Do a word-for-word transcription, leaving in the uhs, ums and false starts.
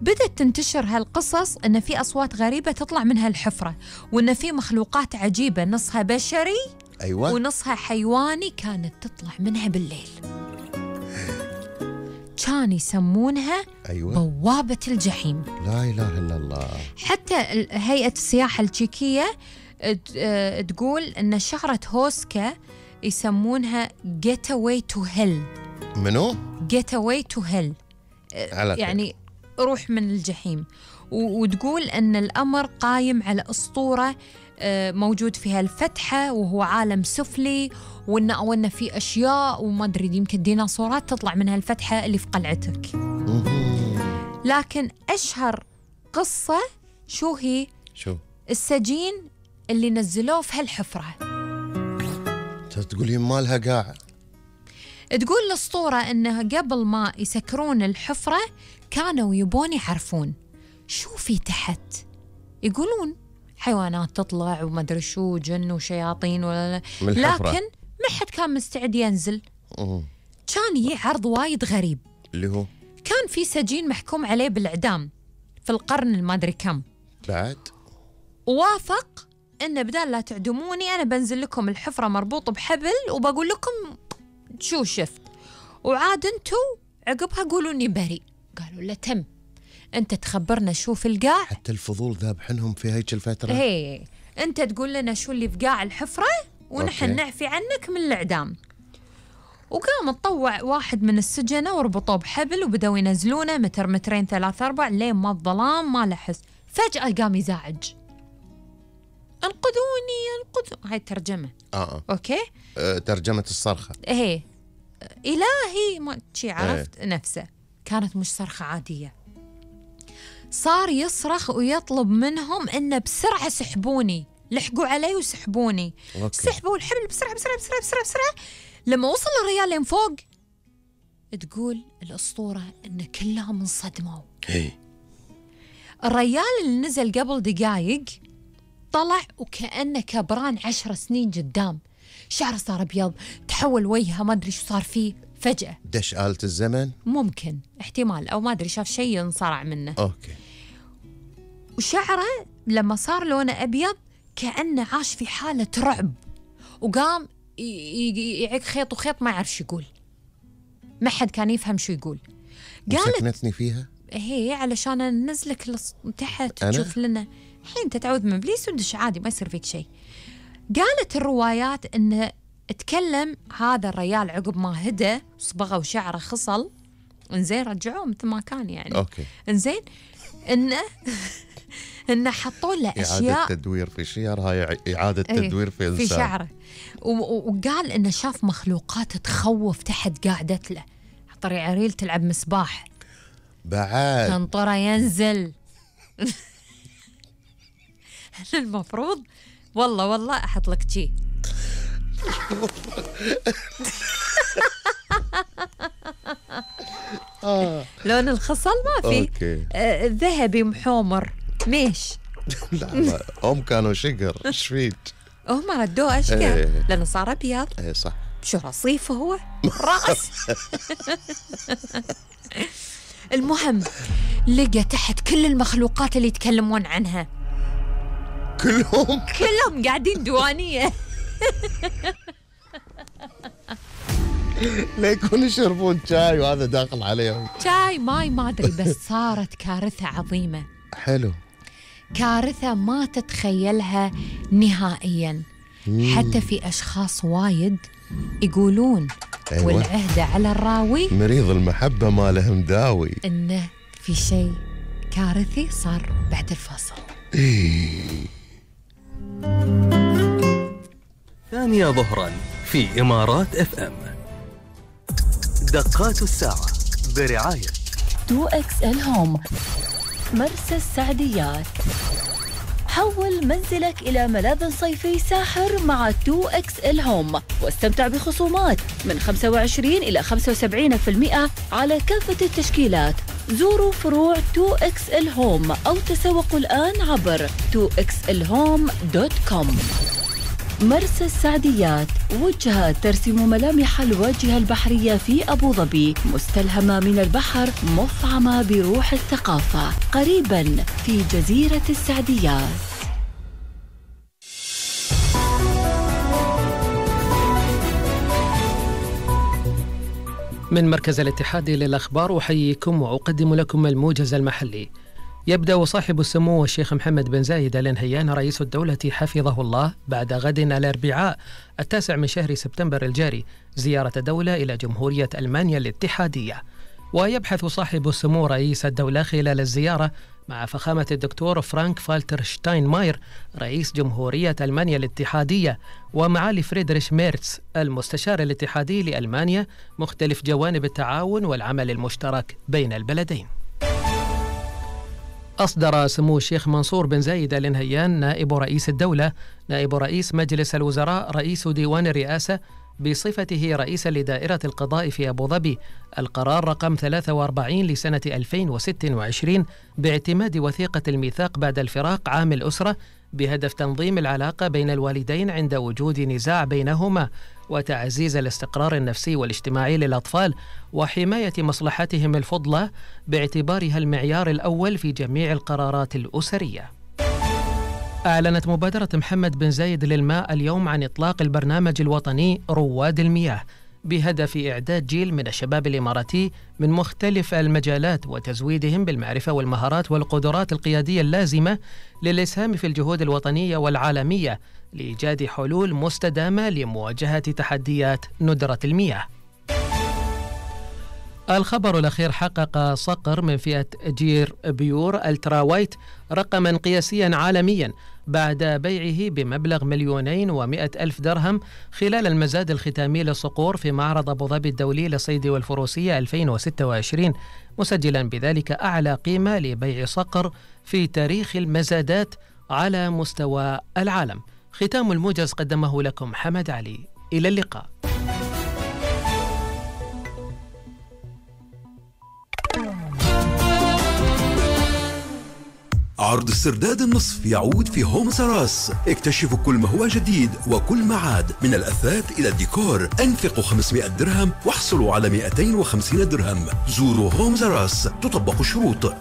بدأت تنتشر هالقصص إن في أصوات غريبة تطلع من هالحفرة، وإن في مخلوقات عجيبة نصها بشري أيوة ونصها حيواني كانت تطلع منها بالليل. كان يسمونها أيوة بوابة الجحيم. لا إله إلا الله. حتى هيئة السياحة التشيكية تقول إن شهرة هوسكا يسمونها Getaway to Hell. منو؟ Getaway to Hell يعني روح من الجحيم. وتقول أن الأمر قايم على أسطورة موجود فيها الفتحة وهو عالم سفلي، وإن أو إن في أشياء وما أدري يمكن ديناصورات تطلع من هالفتحة اللي في قلعتك. لكن أشهر قصة شو هي؟ شو؟ السجين اللي نزلوه في هالحفرة. تقولي مالها قاع. تقول الأسطورة إنه قبل ما يسكرون الحفرة كانوا يبون يعرفون شو في تحت. يقولون حيوانات تطلع وما أدري شو، جن وشياطين ولا لا، لكن ما حد كان مستعد ينزل. أوه. كان يجي عرض وايد غريب اللي هو كان في سجين محكوم عليه بالإعدام في القرن المادري كم بعد، ووافق إنه بدال لا تعدموني أنا بنزل لكم الحفرة مربوط بحبل وبقول لكم شو شفت، وعاد انتو عقبها قولوا اني بريء. قالوا له تم، انت تخبرنا شو في القاع. حتى الفضول ذابحنهم في هيك الفترة. هي انت تقول لنا شو اللي في قاع الحفرة ونحن نعفي عنك من الإعدام. وقام تطوع واحد من السجنة وربطوه بحبل وبدأوا ينزلونه متر مترين ثلاثة أربع لين ما الظلام ما لحس. فجأة قام يزعج، انقذوني انقذوني. هاي الترجمة. آه. أوكي أه ترجمة الصرخة. إيه إلهي ما شي عرفت. إيه. نفسه كانت مش صرخة عادية، صار يصرخ ويطلب منهم إنه بسرعة سحبوني، لحقوا علي وسحبوني. أوكي. سحبوا الحبل بسرعة بسرعة بسرعة بسرعة بسرعة. لما وصل الرجال لين فوق تقول الأسطورة إن كلهم انصدموا. إيه. الرجال اللي نزل قبل دقايق طلع وكأنه كبران عشر سنين قدام، شعره صار أبيض، تحول وجهه ما أدري شو صار فيه فجأة. دش آلة الزمن؟ ممكن احتمال، أو ما أدري شاف شيء انصرع منه. أوكي. وشعره لما صار لونه أبيض كأنه عاش في حالة رعب، وقام يعيق خيط وخيط ما يعرف شو يقول، ما حد كان يفهم شو يقول. قالت سكنتني فيها هي علشان ننزلك تحت تشوف لنا الحين تتعوذ من إبليس ودش عادي ما يصير فيك شيء. قالت الروايات إنه اتكلم هذا الرجال عقب ما هدى صبغه وشعره خصل، انزين رجعوه مثل ما كان يعني. اوكي انزين انه انه حطوا له اشياء اعاده تدوير في شعر، هاي اعاده تدوير في في شعره، وقال انه شاف مخلوقات تخوف تحت قاعدت له. طري عريل تلعب مسباح بعد تنطره ينزل. المفروض والله والله احط لك شي. لون الخصل ما في. آه ذهبي محومر ميش. لا لا هم كانوا شقر. ايش فيك؟ هم ردوه اشقر. ايه. لانه صار ابيض. ايه صح. شو رصيفه هو راس. المهم لقى تحت كل المخلوقات اللي يتكلمون عنها كلهم كلهم قاعدين دوانية. لا يكون يشربون شاي وهذا داخل عليهم شاي ماي ما أدري. بس صارت كارثة عظيمة. حلو. كارثة ما تتخيلها نهائيا. مم. حتى في أشخاص وايد يقولون أيوة. والعهدة على الراوي مريض المحبة ما له مداوي، إنه في شيء كارثي صار بعد الفصل. ثانية ظهرا في إمارات اف ام. دقات الساعة برعاية تو إكس إل هوم مرسى السعديات. حول منزلك إلى ملاذ صيفي ساحر مع تو إكس إل هوم، واستمتع بخصومات من خمسة وعشرين إلى خمسة وسبعين بالمئة على كافة التشكيلات. زوروا فروع تو إكس إل هوم أو تسوقوا الآن عبر تو إكس إل هوم دوت كوم. مرسى السعديات، وجهة ترسم ملامح الواجهة البحرية في أبو ظبي، مستلهمة من البحر، مفعمة بروح الثقافة، قريبا في جزيرة السعديات. من مركز الاتحاد للأخبار أحييكم وأقدم لكم الموجز المحلي. يبدأ صاحب السمو الشيخ محمد بن زايد آل نهيان رئيس الدولة حفظه الله بعد غد الأربعاء التاسع من شهر سبتمبر الجاري زيارة دولة إلى جمهورية ألمانيا الاتحادية. ويبحث صاحب السمو رئيس الدولة خلال الزيارة مع فخامة الدكتور فرانك فالتر شتاينماير رئيس جمهورية ألمانيا الاتحادية ومعالي فريدريش ميرتس المستشار الاتحادي لألمانيا مختلف جوانب التعاون والعمل المشترك بين البلدين. أصدر سمو الشيخ منصور بن زايد آل نهيان نائب رئيس الدولة نائب رئيس مجلس الوزراء رئيس ديوان الرئاسة بصفته رئيسا لدائرة القضاء في أبو ظبي القرار رقم ثلاثة وأربعين لسنة ألفين وستة وعشرين باعتماد وثيقة الميثاق بعد الفراق عام الأسرة بهدف تنظيم العلاقة بين الوالدين عند وجود نزاع بينهما وتعزيز الاستقرار النفسي والاجتماعي للأطفال وحماية مصلحتهم الفضلى باعتبارها المعيار الأول في جميع القرارات الأسرية. أعلنت مبادرة محمد بن زايد للماء اليوم عن إطلاق البرنامج الوطني رواد المياه بهدف إعداد جيل من الشباب الإماراتي من مختلف المجالات وتزويدهم بالمعرفة والمهارات والقدرات القيادية اللازمة للإسهام في الجهود الوطنية والعالمية لإيجاد حلول مستدامة لمواجهة تحديات ندرة المياه. الخبر الأخير: حقق صقر من فئة جير بيور الترا وايت رقما قياسيا عالميا بعد بيعه بمبلغ مليونين ومئة ألف درهم خلال المزاد الختامي للصقور في معرض أبو ظبي الدولي للصيد والفروسية ألفين وستة وعشرين، مسجلا بذلك أعلى قيمة لبيع صقر في تاريخ المزادات على مستوى العالم. ختام الموجز قدمه لكم حمد علي. إلى اللقاء. عرض السرداد النصف يعود في هوم سراس. اكتشفوا كل ما هو جديد وكل ما عاد من الأثاث إلى الديكور. أنفقوا خمسمئة درهم واحصلوا على مئتين وخمسين درهم. زوروا هوم سراس، تطبق الشروط.